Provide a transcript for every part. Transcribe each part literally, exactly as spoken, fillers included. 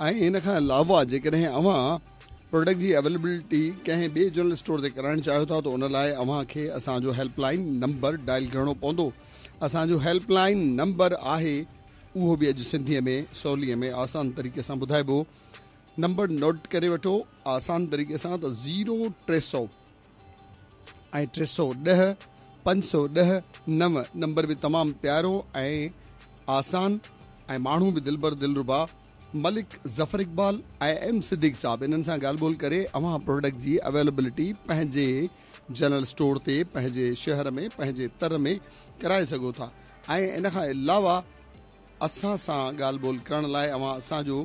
۽ ان کان علاوه جيڪڏهن اوهان پروڊڪٽ جي اويليبلٽي ڪنهن ٻئي جنرل اسٽور تي ڪرائڻ چاهيو ٿا ته ان لاء اوهان کي اسان جو هيلپ لائن نمبر ڊائل ڪرڻو پوندو. اسان جو هيلپ لائن نمبر آهي، اهو به اڄ سنڌيء ۾ سولي ۾ آسان طريقي سان ٻڌائبو. نمبر نوٽ ڪري وٺو آسان طريقي سان ته زيرو ٽي سؤ ۽ ٽي سؤ ڏهه پنج سؤ ڏهه نو. نمبر به تمام پيارو ۽ آسان ۽ ماڻهو به دلبر دلربا ملڪ ظفر اقبال ۽ ايم صديق صاحب، انهن سان ڳالهه ٻولهه ڪري اوهان پروڊڪٽ جي اويليبلٽي پنهنجي جنرل اسٽور تي پنهنجي شهر ۾ پنهنجي تر ۾ ڪرائي سگهو ٿا. ۽ ان کان علاوه اسان سان ڳالهه ٻولهه ڪرڻ لاء اوهان اسان جو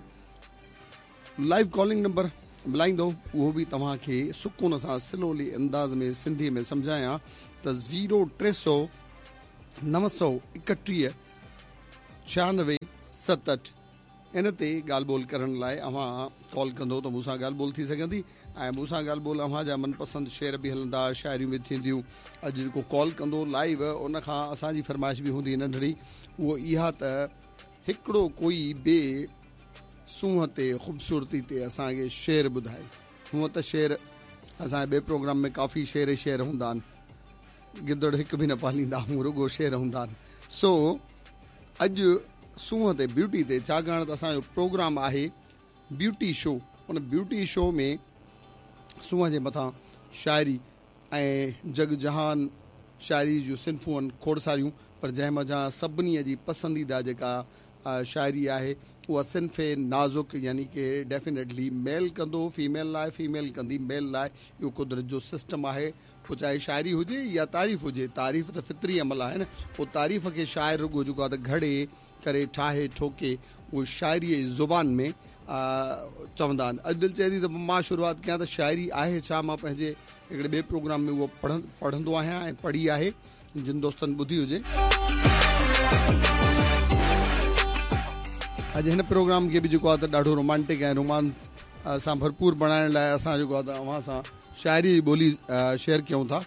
لائيو ڪالنگ نمبر ملائيندو، اهو به توهان کي سڪون سان سلولي انداز ۾ سنڌي ۾ سمجهايان ته زيرو ٽي سؤ نو سؤ ايڪٽيهه ڇهانوي ستهٺ، ان تي ڳالهه ٻولهه ڪرڻ لاء اوهان ڪال ڪندو ته مون سان ڳالهه ٻولهه ٿي سگهندي ۽ مون سان ڳالهه ٻولهه اوهان جا من پسند شعر به هلندا، شاعريون به ٿينديون. اڄ جيڪو ڪال ڪندو لائيو ان کان اسان جي فرمائش به هوندي ننڍڙي، اهو اها ته هڪڙو ڪوئي به سونهن تي خوبصورتي تي اسان کي شعر ٻڌائي. هونء ته شعر اسان جي ٻئي پروگرام ۾ ڪافي شعر ئي شعر هوندا آهن، گدڙ هڪ به نه پاليندا آهيون، رڳو شعر هوندا آهن. سو اڄ سونهن تي بيوٽي تي، ڇاڪاڻ ته اسان جو پروگرام آهي بيوٽي شو، ان بيوٽي شو ۾ سونهن جي مٿان شاعري ۽ جڳ جهان شاعري جون صنفون آهن کوڙ ساريون، پر جنهن منجهان سڀني جي پسنديده جيڪا شاعري آهي اها صنف نازڪ، يعني ڪي ڊيفينيٽلي ميل ڪندو فيميل لاء، فيميل ڪندي ميل لاء، اهو قدرت جو سسٽم آهي. پوء چاهي شاعري هجي يا تعريف هجي، تعريف ته فطري عمل آهي نه، پوء تعريف کي شاعر رڳو جيڪو آهي ته گهڙي ڪري ٺاهي ٺوڪي اهو شاعريء جي زبان ۾ چوندا آهن. اڄ دل چئي ٿي ته مان شروعات ڪيان ته شاعري آهي ڇا؟ مان پنهنجي هڪڙي ٻئي پروگرام ۾ اهو پڙهندو آهيان ۽ پڙهي آهي جن دوستن ٻڌي هجي. اڄ هن پروگرام کي به جيڪو آهي ته ڏاڍو رومانٽڪ ۽ رومانس سان ڀرپور بڻائڻ لاء اسان جيڪو آهي ته اوهان سان شاعري جي ٻولي شيئر ڪيون ٿا.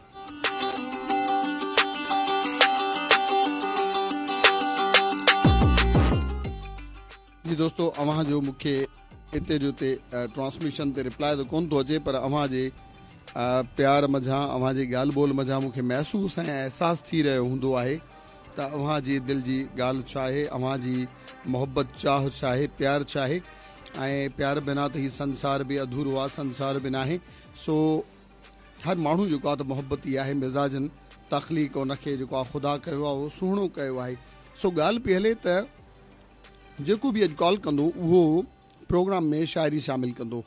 جي دوستو اوهان جو مون کي اتي جو اتي ٽرانسميشن تي رپلاء ته ڪون ٿو اچي، پر اوهان جي پيار منجهان اوهان جي ڳالهه ٻولهه منجهان مون کي محسوس ۽ احساس ٿي رهيو هوندو آهي ته اوهان جي دل جي ڳالهه ڇا آهي، اوهان جي محبت چاهه ڇا آهي، پيار ڇا آهي. ۽ پيار بنا ته هي سنسار به اڌورو آهي، سنسار به ناهي. سو هر ماڻهو جيڪو آهي ته محبتي آهي، مزاجن تخليق ان کي جيڪو آهي خدا ڪيو آهي اهو سهڻو ڪيو آهي. سو ڳالهه پئي هلي ته جيڪو به اڄ ڪال ڪندو اهو پروگرام ۾ شاعري شامل ڪندو.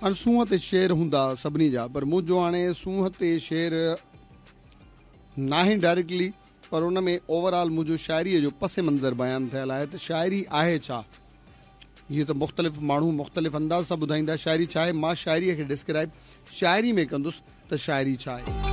هاڻي سونهن تي شعر هوندا سڀني جا، پر منهنجو هاڻي سونهن تي شعر ناهي ڊائريڪٽلي، پر ان ۾ اوور آل منهنجو شاعريء جو پس منظر بيان ٿيل آهي ته شاعري آهي ڇا. هيء ته مختلف ماڻهو مختلف انداز سان ٻڌائيندا شاعري ڇا آهي. مان شاعريء کي ڊسڪرائب شاعري ۾ ڪندس ته شاعري ڇا آهي.